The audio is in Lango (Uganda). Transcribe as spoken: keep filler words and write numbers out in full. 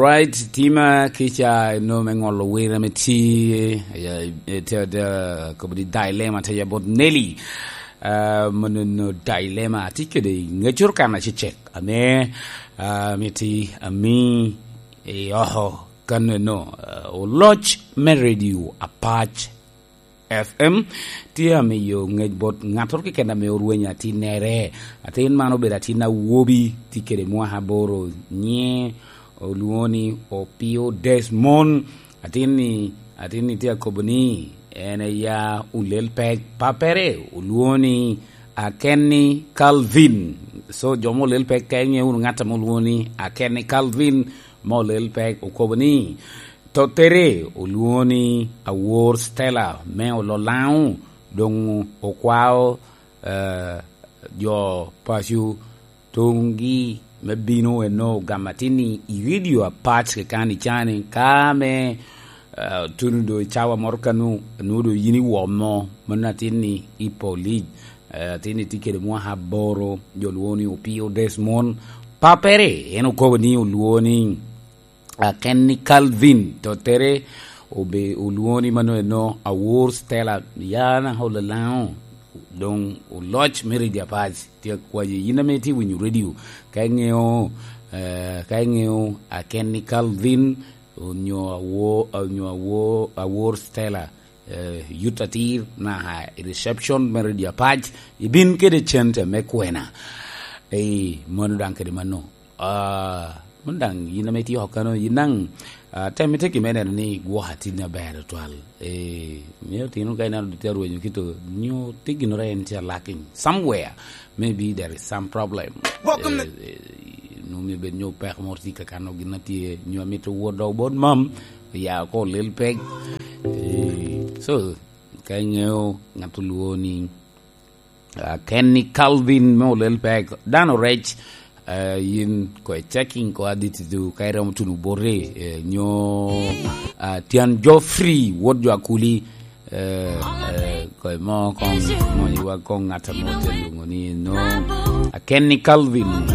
Right, tima kica no me ŋolo wira me ti, eh, eh, te, te, kobo di dilemma te ya bot Nelly. Eh, mono no dilemma, ti kede ŋecur kan acecek. Ame, ah, miti ami i oho kan no, eh, oloc me radio Apac F M tye amiyo ŋec bot ŋattoro keken ame orwenyo atinnere. Atin man obedo atin awobi, tye kede mwaka aboro, nyiŋe olwoŋo ni Opio Desmond. Atin-ni, atin-ni tye akobo ni en eya olel pek, pappere olwoŋo ni Akenni Calvin. So, jo mo olel pek, ka iŋeo wunu ŋat ame olwoŋo ni Akenni Calvin, mo olel pek, okobo ni, tottere olwoŋo ni Awor Stella me Ololaŋo, doŋ okwao, eh, jo paco toŋgi me bino eno gamo atin-ni i radio Apac kekani cani, ka me, eh, tuno do i cawa moro kanu, nwoŋo do yin iwomo, mano atin-ni i polic, eh, atin-ni tye kede mwaka aboro, jo lwoŋo ni Opio Desmond. Pappere, en okobo ni olwoŋo ni Akenni Calvin, tottere obe-, olwoŋo ni mano eno Awor Stella, ya na Ololaŋo, doŋ oloc me radio Apac. Tye akwayi, yin ame itye winyo radio, ka iŋeo, eh, ka iŋeo Akenni Calvin, onyo Awo-, onyo Awo-, Awor Stella, eh, yut atir, naka i reception me radio Apac, ibin kede cente me kwena. Eh, mano daŋ kede mano. Ah, mano daŋ yin ame itye oko kano, yin daŋ, ah, tem ite kime neno ni gwok atin aber otwal. Eh, miyo tino ka ineno tye arwenyo kito, nyo tye ginnoro en tye lacking somewhere. Maybe there is some problem. Welcome to Eh, eh, nwoŋo myero bed nyo peko moro tye ka kano gin a tye, nyo amito wot dok bot mam, oya oko olel pek. Eh, so, ka iŋeo ŋat olwoŋo ni, ah, Kenny Calvin me olel pek, dano rec, eh, yin ko i checking ko adit du, ka iromo tuno boti, eh, nyo, ah, Tian Geoffrey, wot jo Akuli, eh, eh, ko mo kong, mo iwa kong ŋat amo te lwoŋo ni no, ah, Kenny Calvin.